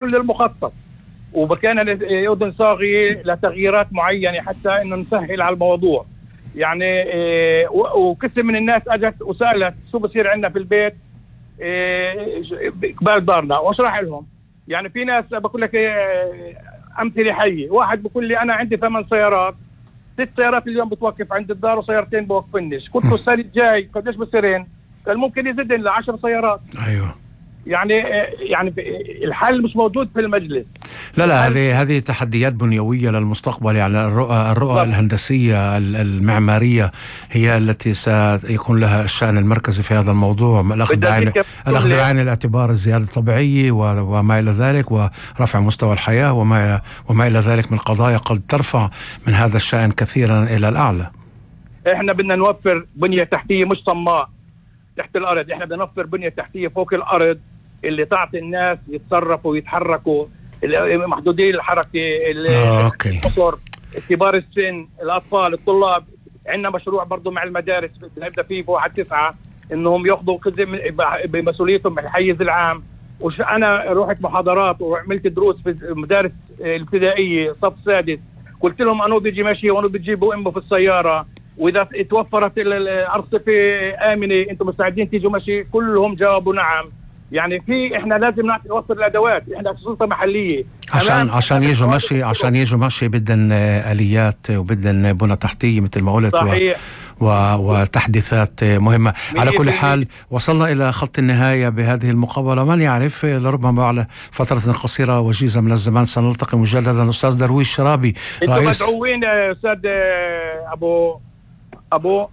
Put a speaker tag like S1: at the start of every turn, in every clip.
S1: كل المخطط، وكان الأردن صاغي لتغييرات معينة حتى إنه نسهل على الموضوع. يعني وكثير من الناس أجت وسألت شو بصير عندنا في البيت قبال دارنا، واشرح لهم. يعني في ناس بقول لك أمثلة حية، واحد بقول لي أنا عندي 8 سيارات، 6 سيارات اليوم بتوقف عند الدار وسيارتين بوقفنش، قلت له السنة الجاي قديش بصيرين؟ قال ممكن يزيدن ل10 سيارات.
S2: أيوه.
S1: يعني الحل مش موجود في المجلس.
S2: لا هذه تحديات بنيوية للمستقبل. يعني الرؤى الهندسية المعمارية هي التي سيكون لها الشأن المركزي في هذا الموضوع، الأخذ بعين الاعتبار الزيادة الطبيعية وما إلى ذلك، ورفع مستوى الحياة وما إلى ذلك من قضايا قد ترفع من هذا الشأن كثيرا إلى الأعلى.
S1: إحنا بدنا نوفر بنية تحتية مش صماء تحت الأرض، إحنا بدنا نوفر بنية تحتية فوق الأرض اللي تعطي الناس يتصرفوا ويتحركوا، محدودين الحركة، القصر، كبار السن، الأطفال، الطلاب. عندنا مشروع برضو مع المدارس نبدأ فيه في 1/9 إنهم يأخذوا بمسؤوليتهم الحيز العام. أنا روحت محاضرات وعملت دروس في المدارس الابتدائية صف سادس، قلت لهم أنو بيجي ماشي وأنو بتجيبوا أمه في السيارة، وإذا توفرت الأرصفة آمنة أنتم مستعدين تيجوا ماشي؟ كلهم جاوبوا نعم. يعني احنا لازم نوصل الادوات، احنا سلطه محليه
S2: عشان يجوا ماشي بدن اليات وبدن بنى تحتيه مثل ما قلت، وتحديثات مهمه. على كل حال وصلنا الى خط النهايه بهذه المقابله، من يعرف لربما على فتره قصيره وجيزه من الزمان سنلتقي مجددا. استاذ درويش شرابي،
S1: انتم مدعوين يا استاذ ابو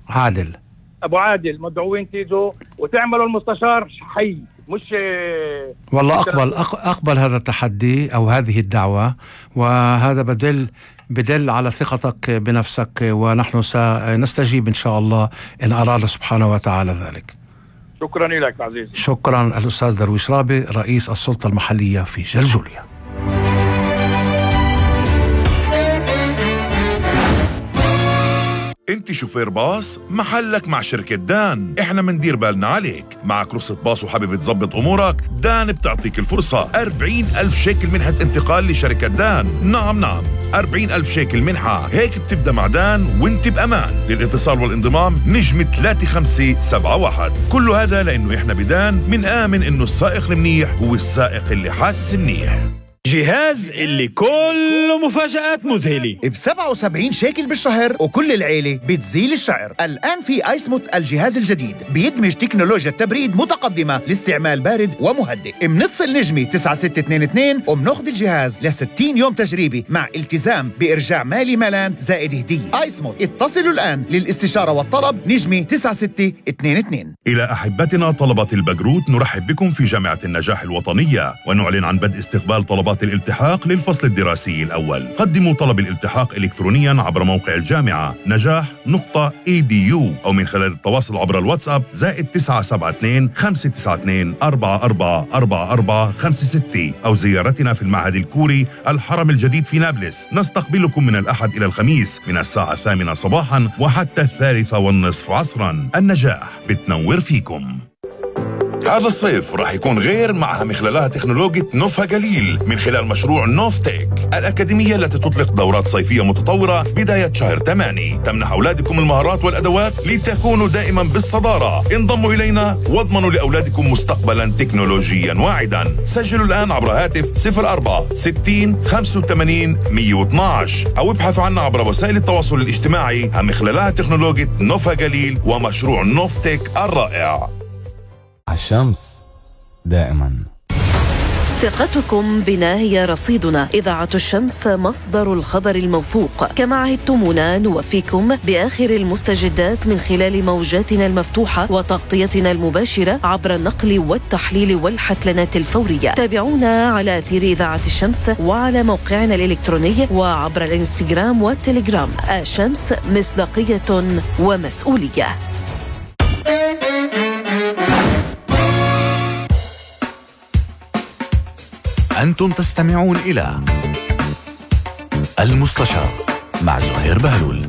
S1: عادل مدعوين تيجوا وتعملوا المستشار حي، مش
S2: والله أقبل هذا التحدي أو هذه الدعوة، وهذا بدل على ثقتك بنفسك، ونحن سنستجيب إن شاء الله إن أراد سبحانه وتعالى ذلك.
S1: شكرا لك عزيزي.
S2: شكرا. الأستاذ درويش شرابي رئيس السلطة المحلية في جرجوليا.
S3: انت شوفير باص؟ محلك مع شركة دان، احنا مندير بالنا عليك. معك رخصة باص وحابب تظبط امورك؟ دان بتعطيك الفرصة 40,000 شيكل منحة انتقال لشركة دان. نعم 40,000 شيكل منحة، هيك بتبدأ مع دان وانت بأمان. للاتصال والانضمام نجم 3571. كل هذا لانه احنا بدان منآمن انه السائق المنيح هو السائق اللي حاسس منيح.
S4: جهاز اللي كله مفاجآت مذهلة
S5: ب77 شيكل بالشهر، وكل العيلة بتزيل الشعر. الآن في آيسموت الجهاز الجديد بيدمج تكنولوجيا التبريد متقدمة لاستعمال بارد ومهدئ. منتصل نجمي 9622 ومناخذ الجهاز ل60 يوم تجريبي مع التزام بإرجاع مالي مالان زائد هدية. آيسموت، اتصلوا الآن للاستشارة والطلب نجمي 9622.
S3: إلى أحبتنا طلبة البكالوريوس، نرحب بكم في جامعة النجاح الوطنية، ونعلن عن بدء استقبال طلبات الالتحاق للفصل الدراسي الأول. قدموا طلب الالتحاق إلكترونيا عبر موقع الجامعة نجاح.edu أو من خلال التواصل عبر الواتساب +972 592 444456 أو زيارتنا في المعهد الكوري الحرم الجديد في نابلس. نستقبلكم من الأحد إلى الخميس من الساعة 8 صباحا وحتى 3:30 عصرا. النجاح بتنور فيكم. هذا الصيف راح يكون غير معها مخللها تكنولوجيا نوفا جليل من خلال مشروع نوفتيك، الأكاديمية التي تطلق دورات صيفية متطورة بداية شهر 8 تمنح أولادكم المهارات والأدوات لتكونوا دائما بالصدارة. انضموا إلينا واضمنوا لأولادكم مستقبلا تكنولوجيا واعدا. سجلوا الآن عبر هاتف 04 60 85 112 أو ابحثوا عنا عبر وسائل التواصل الاجتماعي. مخللها تكنولوجيا نوفا جليل ومشروع نوفتيك الرائع.
S6: الشمس دائما.
S7: ثقتكم بنا هي رصيدنا. إذاعة الشمس مصدر الخبر الموثوق. كما عهدتمونا نوفيكم بآخر المستجدات من خلال موجاتنا المفتوحة وتغطيتنا المباشرة عبر النقل والتحليل والحتلنات الفورية. تابعونا على أثير إذاعة الشمس وعلى موقعنا الإلكتروني وعبر الإنستغرام والتليجرام. الشمس، مصداقية ومسؤولية.
S8: أنتم تستمعون إلى المستشار مع زهير بهلول.